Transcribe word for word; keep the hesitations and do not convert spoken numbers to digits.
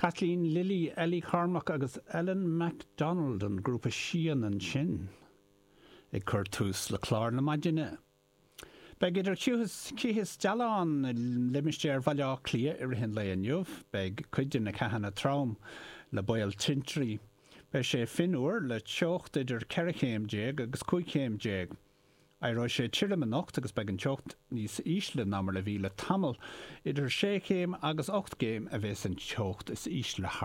Kathleen Lilly, Ellie Cormack agus Ellen MacDonald an grúpa Sian ansin ag cur tús le clár na maidine. Beidh idir chith is dealán i limistéar Bhaile Átha Cliath i rith an lae inniu, beidh cuid de na ceathanna trom le baol tintrí. Beidh sé fionnuar le teocht idir ceithre chéim déag agus cúig chéim déag. Éireoidh sé tirim anocht agus beidh an teocht níos ísle ná mar a bhí le tamall, idir sé chéim agus ocht gcéim a bheas an teocht is ísle thar